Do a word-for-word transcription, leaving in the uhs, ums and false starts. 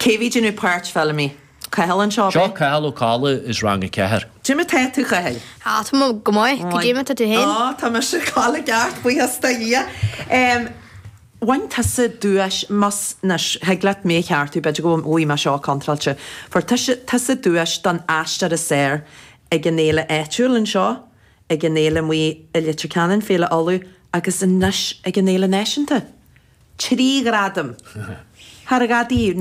Cé bhí déanamh páirt Feilimí? Cathal anseo, Seo Cathal Ó Colla as rang a ceathair. Cad é mar tá tú, a Chathail? Ah, tá mé go maith, cad é mar tá tú féin? Á, tá mise i gceart, buíochas do Dhia. Bhain tusa duais, más, anois, thig leat mé a cheartú, b'fhéidir go bhfuil mé seo contráilte. Fuair tusa, tusa duais don aisteoir is fearr ag an fhéile áitiúil anseo, ag an fhéile amuigh i Leitir Ceanainn, Féile Uladh, agus anois ag an fhéile náisiúnta. Trí ghradam! Thar a dhá dtaobh.